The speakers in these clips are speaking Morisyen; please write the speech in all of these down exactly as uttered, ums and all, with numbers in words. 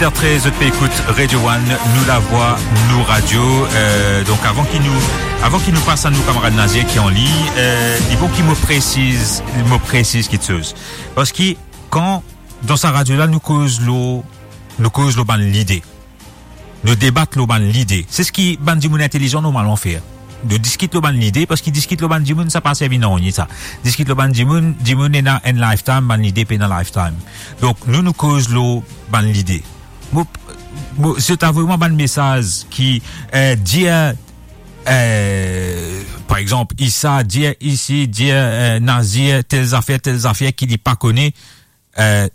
Trez, zot pe ekout Radio One, nou lavwa, nou radio. Euh, donk, avan ki nou, avan ki nou pas a nou kamarad Nazier ki an lign, euh, li bon ki mo presiz, mo presiz kiksoz. Parski kan dan sa radio la, nou koz lor, nou koz lor bann lide. Nou debat lor bann lide. Se seki bann dimoun intelizan normalman fer. Nou diskit lor bann lide, parski diskit lor bann dimoun, sa pa servi nanye sa. Diskit lor bann dimoun, dimoun ena enn lifetime, bann lide pena lifetime. Donk, nou, nou koz lor bann lide. Mo, mo, si to avoy mwa bann mesaz ki, euh, dir, euh, par exanp, Issa, dir isi, dir, euh, Nazier, tel zafer, tel zafer ki li pa kone, euh,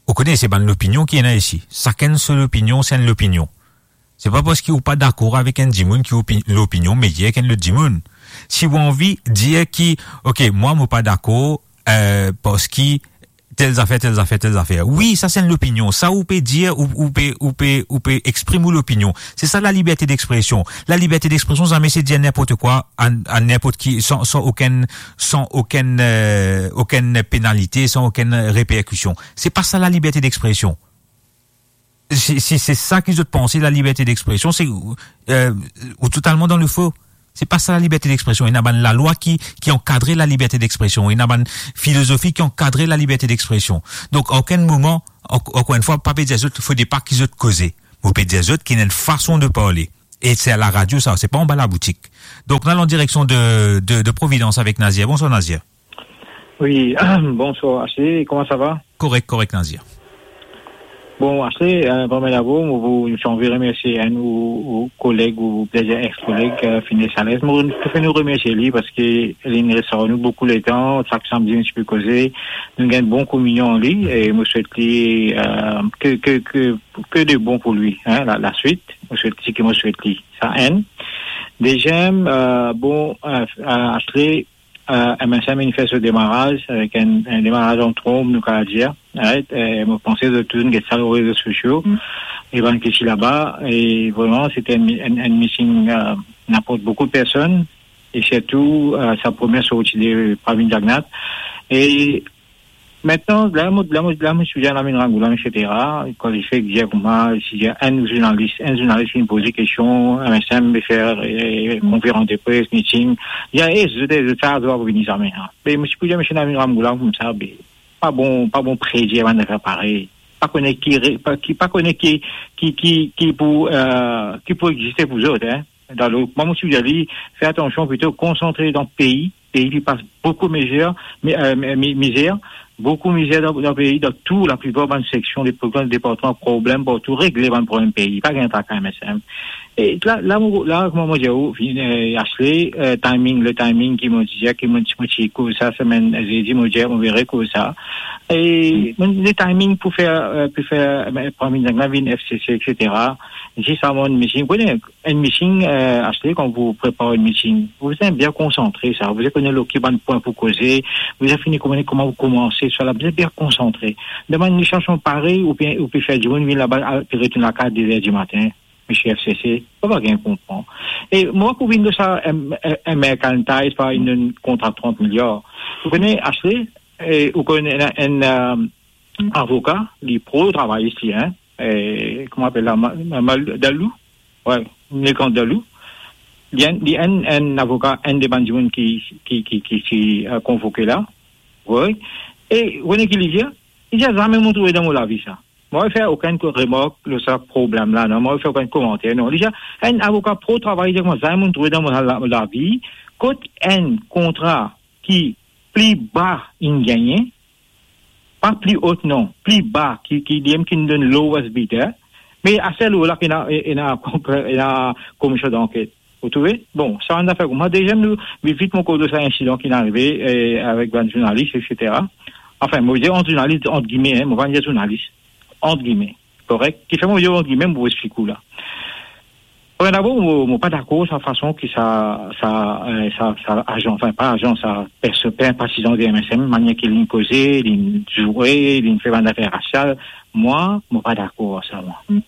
ou kone, se bann lopinion ki ena isi. Sakenn so lopinion, se enn lopinion. Se pa parski ou pa dakor avek enn dimoun ki opi-, lopinion meyer ki enn lot dimoun. Si ou anvi dir ki, ok, mwa, mo pa dakor, euh, parski tel zafer, tel zafer, tel zafer. Wi, sa se enn lopinion. Sa ou pe dir, ou, ou pe, ou pe, ou pe exprim ou lopinion. Se sa laliberte dexpresion. Laliberte dexpresion, zame se dir ninport kwa a, a ninport ki, san, san okenn, san okenn, euh, okenn penalite, san okenn reperkision. Se pa sa laliberte dexpresion. Si, si se sa ki zot panse, laliberte dexpresion, se, euh, ou totalman dan lefo. Se pa sa laliberte dexpresion. Ena bann lalwa ki, ki ankadre laliberte dexpresion. Ena bann filozofi ki ankadre laliberte dexpresion. Donk, a okenn moman, ank-, ankor enn fwa, pa pe dir zot, fode pa ki zot koze. Mo pe dir zot ki ena enn fason de parle. E se a laradio sa, se pa anba laboutik. Donk, nou al an direksion de, de, de Providence avek Nazier. Bonswar, Nazier. Wi, bonswar, Ashley, kouma sa va? Korek, korek, Nazier. Bon, Ashley, euh, premie dabor, mo pou, mo anvi remersie enn ou, ou koleg, ou plizir ex-koleg, euh, Fine Sales. Mo, mo finn remersie li parski li inn res ar nou boukou letan, sak samdi nou ti pe koze, nou gagn bon kominion li, e mo swet li, euh, ke, ke, ke, ke de bon pou li, hein, la, laswit, mo swet li, ki mo swet li. Sa enn. Deziem, euh, bon, euh, euh, Ashley, euh, M S M inn fer so demaraz, avek enn, enn demaraz an tronm, nou kapav dir, right? E mo panse zot tou inn get sa lor rezo sosio, e bann ki ti laba, e vreman, se ti enn, enn, enn meeting, euh, inn aport boukou de personn, e sirtou, euh, sa premie sorti de Pravin Jagannath. E Aster, la mo, la mo, la mo ti dir Navin Ramgoolam, et cetera. Kan li fek dir kouma, si dir enn zournalis, enn zournalis vinn poze kestion, M S M pe fer, eh, konferans de pres, meeting. Li dir, eh, zot, zot sa, zot pa pou vini zame, hein. Me mo ti pou dir misie Navin Ramgoolam koumsa, be, pa bon, pa bon predir bann zafer parey. Pa kone ki re-, pa, ki, pa kone ki, ki, ki, ki pou, eh, ki pou existe pou zot, hein. Dan le, mwa, mo ti pou dir li, fer atansion, plito konsantre dan pei, pei ki pas boukou mizer, mi-, eh, mi-, mi-, mizer, boukou mizer dan, dan pei, dan tou, laplipar bann seksion, de provinc, departman, problem partou, regle bann problem pei, pa gagn traka M S M. E la, la, mo, la, kouma mo dir ou, eh, Ashley, eh, timing, le timing ki mo dir, ki mo, mo ti koz sa, semenn, zedi, mo dir, mo vinn rekoz sa. E, mo, le timing pou fer, eh, pou fer, eh, Pravin Jagannath vinn F C C, et cetera. Zis avan enn meeting, ou kone, enn meeting, eh, Ashley, kan ou prepar enn meeting, ou bizin bien konsantre sa, ou bizin kone lor ki bann pwin pou koze, ou bizin fini kone kouma pou koumanse, sa la, bizin bien konsantre. Demann li sas parey, ou pe, ou pe fer dimoun vinn laba, al, pe retourn lakaz de zer dimatin, misie F C C, pa, pa gagn konpran. E mwa pou vinn de sa, em, em, American Ties, pa enn, enn kontra trant miliar. Ou kone, Ashley, e, ou kone enn, enn, eh, avoka, li pro travayis li, hein, eh, kouma apel la, Ma-, Ma-, Mal-, Dalou? Wi, Maître Dalou. Li enn, li enn, enn avoka, enn de bann dimoun ki, ki, ki, ki ti, eh, konvoke la. Wi. E, ou kone ki li dir? Li dir, zame mo trouve dan mo lavi sa. Mo pa fer okenn ko-, remark lor sa problem la, non. Mo pa fer okenn komanter, non. Li dir, enn avoka pro travay, li dir, kouma zame mo trouve dan mo la-, la-, lavi, kot enn kontra ki pli ba inn gagne, pa pli o non, pli ba ki, ki li mem ki donn lowest bidder, me aster la ki ena, ena, ena komision danket. Ou trouve? Bon, sa enn zafer koumsa. Deziem, nou, vit, vit, mo koz sa insidan ki arive, eh, avek bann zournalis, et cetera. Anfin, mo dir ant zournalis, ant gime, hein, mo pa dir zournalis, ant gime. Korek? Kifer mo dir ant gime, mo pou explik ou la. Bon, dabor, mo, mo pa dakor sa fason ki sa, sa, eh, sa, sa azan, anfin, pa azan, sa perso-, pe-, patizan de M S M, manier ki linn koze, linn zoure, linn fer bann zafer rasial, mwa, mo pa dakor ar sa, mwa.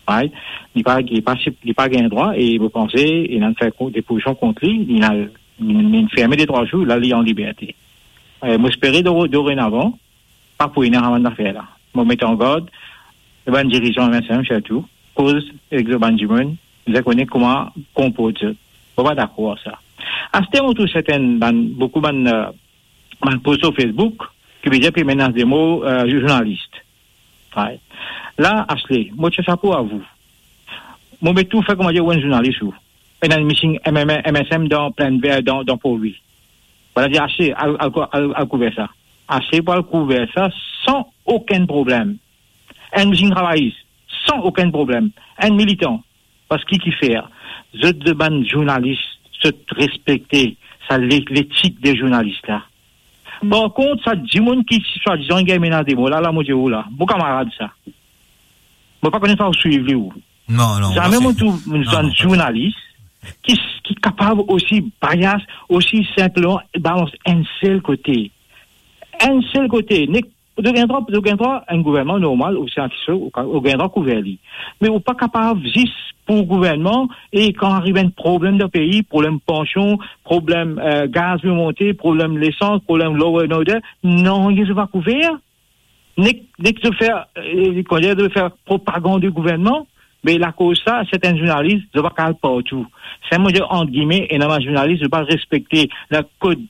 Right? Li pa, li pa, li pa gagn drwa e mo panse, inn fer ko-, depozision kont li, linn, linn, linn ferme de trwa zour, la, li an liberte. Eh, mo espere dore-, dorenavan, pa pou ena sa bann zafer la. Mo met an gard, bann dirizan M S M sirtou, koz ek bann dimoun, bizin kone kouma konport zot. Mo pa dakor ar sa. Aster mo trouv sertin bann, boukou bann, eh, bann post lor Facebook, ki bizin pe menas de mor, eh, zournalis. Right. La, Ashley, mo tir sapo ar ou. Mo met ou fer kouma dir ou enn zournalis ou. Ena enn meeting M M, M S M dan Plaine Verte, dan, dan Port Louis. Bann la dir, Ashley, al, al, al, al kouver sa. Ashley pou al kouver sa san okenn problem. Enn meeting travayis, san okenn problem. Enn militan. Parski kifer? Zot, zot bann zournalis, zot respekte sa le-, letik de zournalis la. Par kont, sa dimoun ki swadizan gagn menas de mor la, la, mo dir ou la, mo kamarad sa. Mo pa kone sa ou swiv li ou. Non, non, Zame mo trouv enn zournalis ki, ki kapav osi bias, osi sinpleman balans enn sel kote. Enn sel kote. Nek, ou gagn drwa, ou gagn drwa, enn gouvernman normal, ou se artis, ou ka-, ou gagn drwa kouver li. Me ou pa kapav zis pou gouvernman, e kan ariv enn problem dan pei, problem pansion, problem, eh, gaz pe monte, problem lesans, problem law and order, nanye zot pa kouver. Nek, nek zot fer, eh, kouma dir, zot fer propagand de gouvernman, me lakoz sa, sertin zournalis, zot pa kapav partou. Sa mo dir, ant gime, ena bann zournalis, zot pa respekte lakod,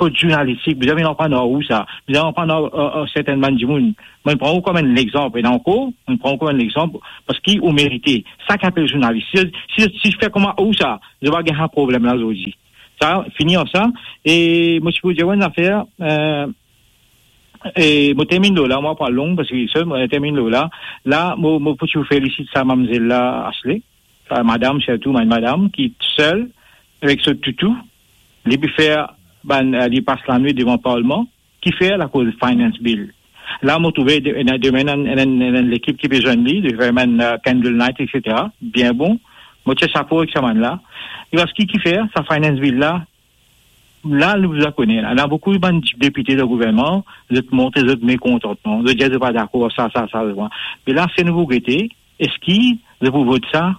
kod zournalistik. Bizin vinn aprann ar ou sa. Bizin aprann ar, ar, ar sertin bann dimoun. Mo pran ou kom enn lexanp, ena ankor, mo pran ou kom enn lexanp, parski ou merite. Sa ki apel zournalis. Si, si, si fer kouma ou sa, zot pa gagn sa problem la zordi. Sa, fini ar sa. E mo ti pou dir enn zafer, eh, e mo terminn lor la, mo pa long, parski sel mo terminn lor la. La, mo, mo pou tou felisit sa mamzel la, Ashley. Sa madam, sirtou, bann madam ki sel, avek so toutou, li pe fer bann, eh, li pas lanwit devan parlman, kifer lakoz finance bill. La, mo trouve de-, ena, demin, ena, ena, ena lekip ki pe zwenn li, li fer bann, eh, candle night, et cetera. Bien bon. Mo tir sapo ek sa bann la. E parski kifer, sa finance bill la, la, nou bizin kone, la, ena boukou bann depite dan gouvernman, zot montre zot mekontantman, zot dir zot pa dakor sa, sa, sa, sa. Me la, se nou pou gete, eski zot pou vot sa,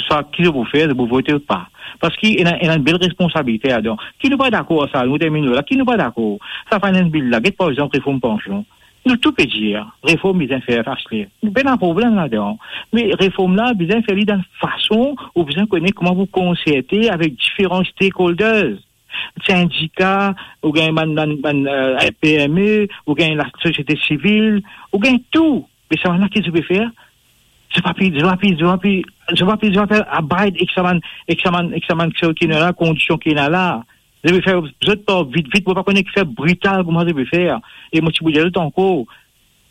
sa ki zot pou fer, zot pou vote ou pa. Parski ena, ena enn bel responsabilite ladan. Ki nou pa dakor ar sa, nou terminn la, ki nou pa dakor? Sa finance bill la, get par exanp reform pansion. Nou tou pe dir, reform bizin fer, Ashley. Nou pena problem ladan. Me reform la, bizin fer li dan fason, ou bizin kone kouma pou konserte avek diferan stakeholders. Sindika, ou gagn bann, bann, bann, eh, P M E, ou gagn lasosiete sivil, ou gagn tou. Me sa bann la ki zot pe fer, zot pa pe, zot pa pe, zot pa pe, zot pa pe, zot pa pe abide ek sa bann, ek sa bann, ek sa bann ki ena la, kondision ki ena la. Zot pe fer zot par vit, vit, mo pa kone ki fer brital kouma zot pe fer. E mo ti pou dir zot ankor,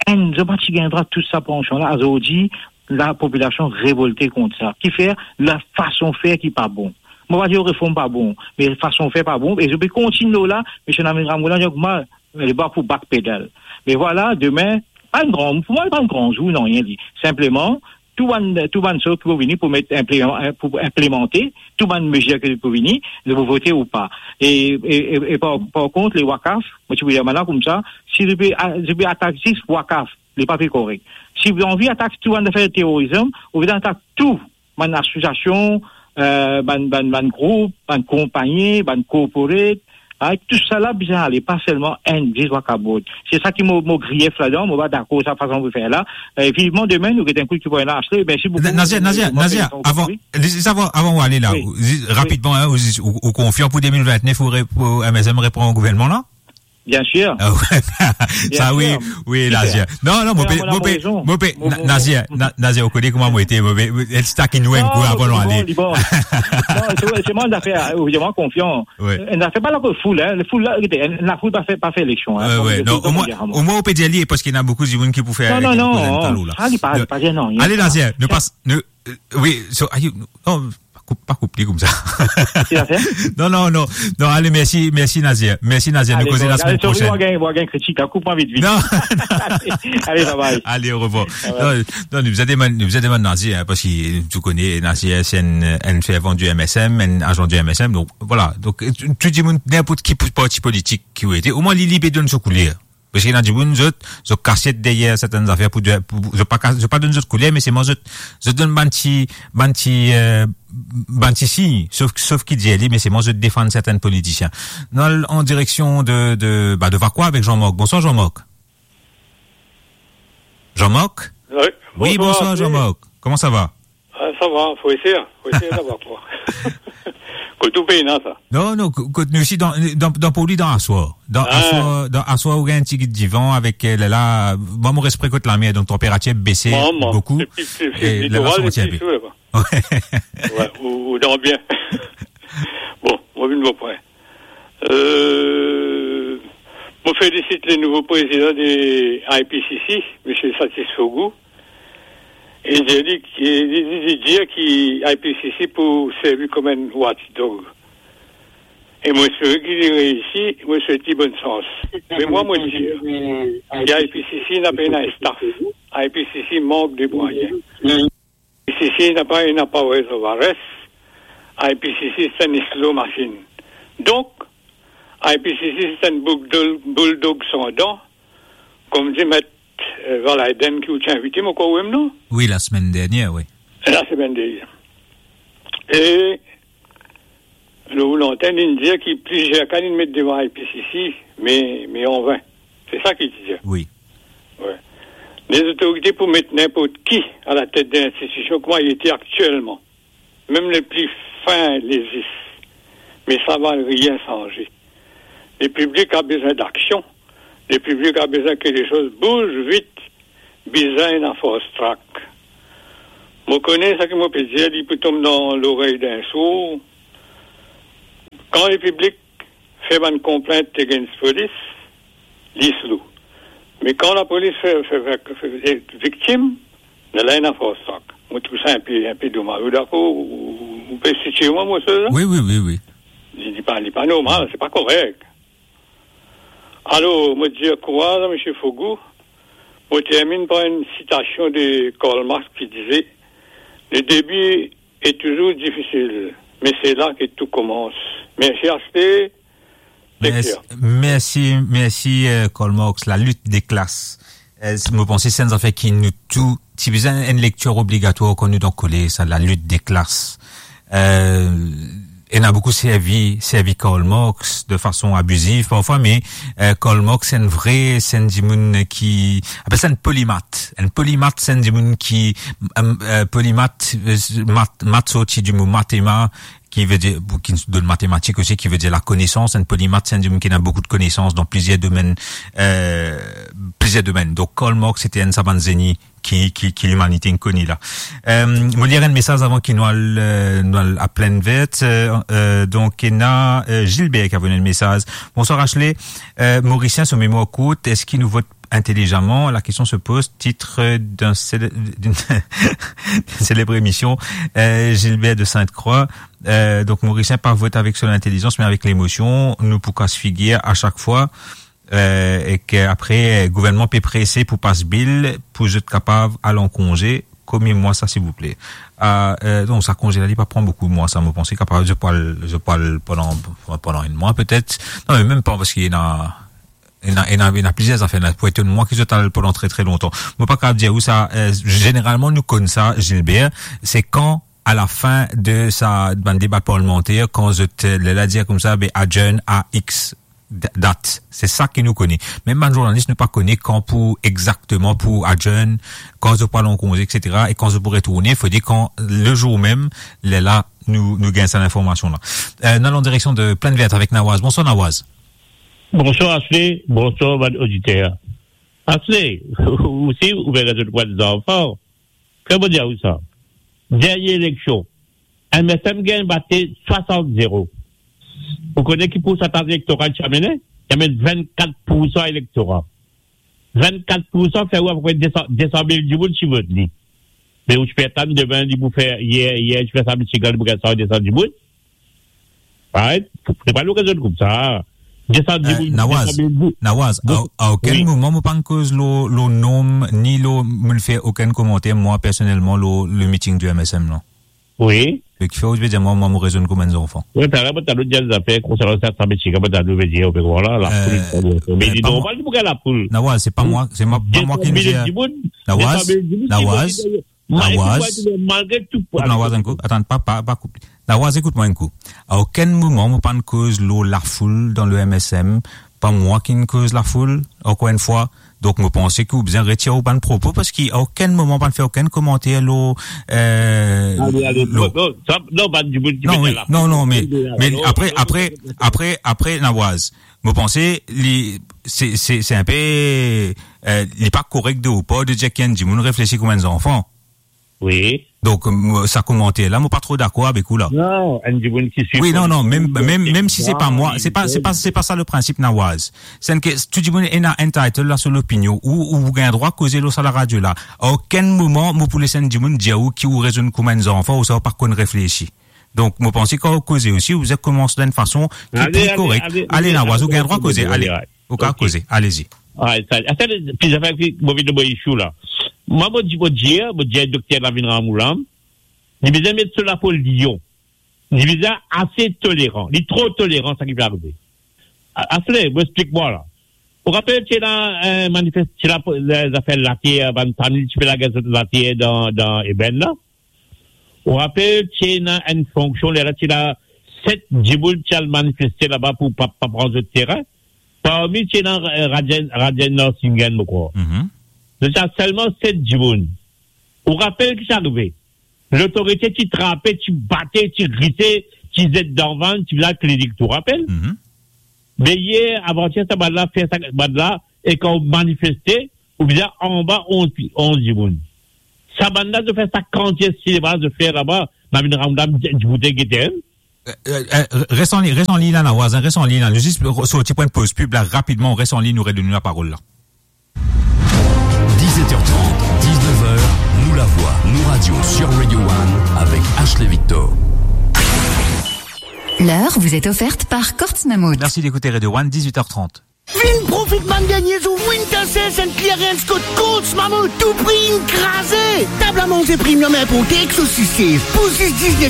enn, zot pa ti gagn drwa tou sa pansion la, azordi, lapopilasion revolte kont sa. Kifer? Lafason fer ki pa bon. Mo pa dir reform pa bon, me fason fer pa bon, e zot pe kontign lor la, misie Navin Ramgoolam dir, mo, li pa pou backpedal. Me vwala, demin, pa enn gran, pou mwa, pa enn gran zour, nanye li. Sinpleman, tou bann, tou bann sort ki pou vini pou met inpleman-, pou inplemante, tou bann mezir ki pou vini, nou pou vote ou pa. E, e, e, e par, par kont, le wakaf, mo ti pou dir bann la koumsa, si zot pe a-, zot pe atak zis wakaf, li pa pe korek. Si ou anvi atak tou bann zafer terorizm, ou bizin atak tou bann asosiasion, eh, bann, bann, bann group, bann konpagni, bann corporate, ah, tousala bizin ale, pa selman enn, zis wakaf board. Se sa ki mo, mo grief ladan, mo pa dakor sa fason pou fer la. E vivman demin, nou get enn kou ki pou ena Ashley. Mersi boukou. Nazer, Nazer, Nazer, avan, avan ou ale la, zis rapidman, hein, ou, ou, ou konfian pou de mil vintnef, ou re-, pou M S M repran gouvernman la? Bien sir. Ah ouais. Sa, wi, wi, Nazer. Non, non, mo pe, mo pe, Nazer, Na-, Nazer, ou kone kouma mo ete, mo pe, el ti takin ou enn kou avan nou ale. Non, se, se mwa zafer, ou, mo konfian. Enn zafer pa lakoz foul, hein. Foul la, gete, enn, lafoul pa fer, pa fer eleksion, hein. Non, omwin, omwin ou pe dir li, parski ena boukou dimoun ki pou fer... Non, non, non, sa li pa, li pa dir nanye. Ale, Nazer, nou pas, nou, eh, wi, so, ayo, non, pa koup, pa koup li koumsa. Non, non, non, non, ale, mersi, mersi, Nazer. Mersi, Nazer. Nou koze lasemenn prosenn. Ale, sorry, mo gagn, mo gagn kritik, hein, koup mwa vit, vit. Non. Ale, bye bye. Ale, orevwar. Non, non, nou bizin demann, nou bizin demann Nazer, hein, parski tou kone Nazer se enn, enn fervan di M S M, enn azan di M S M. Donk, vwala. Donk, tou, tou dimoun, ninport ki parti politik ki ou ete, omwin li, li pe donn so kouler. Parski ena dimoun, zot, zot kasiet deryer sertenn zafer pou, pou, zot pa kas-, zot pa donn zot kouler, me selman zot, zot donn bann ti, bann ti, eh, bann ti sign, sof, sof ki dir li, me selman zot defann sertenn politisien. Nou al an direksion de, de, ba, de Vacoas avek Jean-Marc. Bonswar, Jean-Marc. Jean-Marc? Oui, bonsoir, Jean-Marc. Comment ça va ? Ah, ça va, faut essayer, faut essayer d'avoir quoi. Kot ou pena sa. Non, non, ko-, kot nou isi dan, dan, dan Port-Louis, dan aswar. Dan aswar, dan aswar, ou gagn enn tigit divan avek, euh, la, la, mwa, mo res pre kot lame, donk tanperatir bese boukou. E litoral, santi enpe. Ouais, ou, ou dan bien. Bon, mo vinn bon pwin. Euh, mo felisit le nouvo prezidan de I P C C, Misie Satisfogu. E dir li, li, li, li dir ki I P C C pou servi kom enn watchdog. E mo espere ki li reisi, mo swet li bonn sans. Me mwa, mo dir, ki I P C C napa ena staff. I P C C mank de mwayin. I P C C napa ena powers of arrest. I P C C se enn slow machine. Donk, I P C C se enn boul-, bulldog san dan, kom dir met, euh, Valaiden ki ou ti invite mwa, ou krwar, non? Oui, la semaine dernière, oui. La semaine dernière. E lor lantenn, inn dir ki plizier ka inn met devan I P C C, me, me an vin. Se sa ki ti dir. Oui. Ouais. Lezotorite pou met ninport ki alatet de linstitision kouma li ete aktielman, mem le pli fin lezis, me sa va rien sanze. Le piblik a bezwin daksion. Le piblik a bezwin ki lesoz bouz vit. Bizin ena fast track. Mo kone sa ki mo pe dir, li pou tom dan lorey d'enn sour. Kan lepiblik fer bann konplint against polis, li slow. Me kan lapolis fer, fer, fer, fer, eh, viktim, lerla ena fast track. Mo trouv sa enpe, enpe domaz. Ou dakor, ou, ou, ou pe sitie mwa, mo sel la? Oui, oui, oui, oui. Li, li pa, li pa normal, se pa korek. Alor, mo dir kouraz a Misie Fogu. Mo terminn par enn sitasion de Karl Marx ki dize, "Le début est toujours difficile, mais c'est là que tout commence." Mersi, Asle. Mersi, mersi, mersi, euh, Karl Marx, la lutte des classes. Euh, mo panse se enn zafer ki nou tou, ti bizin enn lektir obligatwar kan nou dan kolez, sa, la lutte des classes. Euh, ena boukou servi, servi Karl Marx de fason abiziv parfwa, me, euh, Karl Marx se enn vre, se enn dimoun ki, apel sa enn polimat. Enn polimat, se enn dimoun ki, euh, euh, polimat, euh, mat, mat sorti di mo mathema, ki ve dir, ki donn matematik osi, ki ve dir lakonesans. Enn polimat, se enn dimoun ki ena boukou de konesans dan plizier domenn, euh, plizier domenn. Donk, Karl Marx, se ti enn sa bann zeni ki, ki, ki limanite inn kone la. Euh, mo lir enn mesaz avan ki nou al, euh, nou al a Plaine Verte. Euh, euh, donk, ena, euh, Gilbert ki avoy enn mesaz. Bonsoir, Asle. Euh, Morisien, so memwar kourt, eski nou vot intelligemment? La question se pose, titre d'un célè-, d'une, d'une célèbre émission, euh, Gilbert de Sainte-Croix. Euh, donk, Morisien pa vot avek so lintelizansman, me avek lemosion. Nou pou kas figir a sak fwa. Euh, e ki apre, euh, gouvernman pe prese pou pas bil pou zot kapav al an konze. Konbien mwa sa, silvouple? Ah, euh, non, sa konze la, li pa pran boukou mwa sa, mo panse kapav, zot pou al, zot pou al pandan, pandan enn mwa, petet. Non, me mem pa, parski ena, ena, ena, ena plizier zafer la. Pou etonn mwa ki zot al pandan tre, tre lontan. Mo pa kapav dir ou sa, euh, zeneralman, nou konn sa, Gilbert, se kan, a la fin de sa, bann deba parlimanter, kan zot, euh, lerla dir koumsa, be, adjourn a X d-, dat. Se sa ki nou kone. Mem bann zournalis, nou pa kone kan pou exakteman pou adjourn, kan zot pou al an konze, et cetera, e kan zot pou retourne, fode kan, le zour mem, lerla nou, nou gagn sa linformasion la. Euh, nou al an direksion de Plaine Verte avek Nawaz. Bonsoir, Nawaz. Bonsoir, Asle. Bonsoir, bann oditer. Asle, ou si, ou pe rezonn pou bann zanfan. Ki mo dir ou sa? Dernie eleksion, M S M gagn bate swasant zero. Ou kone ki poursantaz elektoral ti amenn? Ti amenn vennkat poursan elektora. Vennkat poursan, fer ou apepre de san, de san mil dimoun ti vot li. Me ou ti pe atann demin li pou fer, yer, yer ti fer sa Michigan, li pou gagn san, de san dimoun. Right? Se pa nou rezonn koumsa. De san dimoun, Nawaz, de san mil dimoun. Nawaz, a, a okenn moman mo pa'nn koz lor, lor nonm, ni lor, mo'nn fer okenn komanter, mwa, personelman, lor le meeting du M S M, non. Oui. Me kifer ou pe dir mwa, mwa, mo rezonn kouma enn zanfan? Oui, talor, mo talor dir zafer konsernan sa, sa Michigan, mo talor pe dir, ou pe krwar la, la foul, euh, me li normal pou gagn lafoul. Nawaz, se pa mwa, se mwa, pa mwa ki dir. De san mil dimoun, Nawaz, de san mil dimoun ki vot li. Nawaz, Nawaz, koup Nawaz enn kou. Atann, pa, pa, pa koup. Nawaz, ekout mwa enn kou. A okenn moman, mo pa'nn koz lor lafoul dan le M S M. Pa mwa ki'nn koz lafoul. Ankor enn fwa, Donk, mo panse ki ou bizin retir ou bann propo, parski a okenn moman pa fer okenn komanter lor, eh, Ale, ale, lor non, non, sa, non, bann dimoun ki Non, met wi, la non, non, me, me apre, apre, apre, apre, Nawaz, mo panse li, se, se, se inpe, eh, li pa korek de ou par de dir ki enn dimoun reflesi kouma enn zanfan. Wi. Donk, mo, sa komanter la, mo pa tro dakor avek ou la. Non, enn dimoun ki Wi, non, non, mem, mem, mem si se pa mwa, se pa, se pa, se pa sa le prinsip, Nawaz. Se ke tou dimoun ena entitled la so lopinion, ou, ou gagn drwa koze lor sa laradio la. A okenn moman, mo pou les enn dimoun dir ou ki ou rezonn kouma enn zanfan, ou sa ou pa konn reflesi. Donk, mo panse kan ou koze osi, ou bizin koumans dan enn fason ki Ale, pli ale, korek. Ale, Ale, ale, Nawaz, ou ale, gagn drwa ale, koze, ale, ale. Ale. Ou kapav Ok. koze, alezi. Ay, sa, sa, pli zafer ki mo vinn mo issue la. Mwa, mo dir, mo dir, mo dir dokter Navin Ramoul la, li bizin met so lapo lion. Li bizin ase toleran. Li tro toleran, sa ki pe arive. A-, Asle, mo explik mwa la. Ou rapel ti ena, eh, manifest-, ti ena, eh, zafer later, bann fami ti pe lage zot later dan, dan Ebèn la. Ou rapel ti ena enn fonksion, lerla ti ena set dimoun ti al manifeste laba pou pa, pa pran zot terin. Parmi ti ena, eh, Rajen, Rajen Narsinghan, mo krwar. Mhm. Zot ti ena selman set dimoun. Ou rapel ki sa arive? Lotorite ti trape, ti bate, ti rise, ti zet dan vann, ti vinn al klinik, ou rapel? Mhm. Me yer, avanyer, sa bann la fer sa, bann la, e kan ou manifeste, ou bizin anba onz, onz dimoun. Sa bann la, zot fer sa kantite sinema, zot fer laba, Navin Ramoul la, diboute gete, hein? Eh, eh, eh, res an li-, res an liny la, Nawaz, hein, res an liny la. Nou zis sorti pou enn poz pib la, rapidman, res an liny, nou redonn nou laparol la. Dix-sept heures trente, dix-neuf heures, Nou Lavwa, Nou Radio sur Radio One avec Ashley Victor. L'heure vous est offerte par Courts Mammouth. Merci d'écouter Radio One, dix-huit heures trente. Vinn profit bann dernie zour Winter Sale and Clearance kot Courts Mammouth, tou pri inn kraze. Tab a manze premium inporte ek sosis, pou zis diznef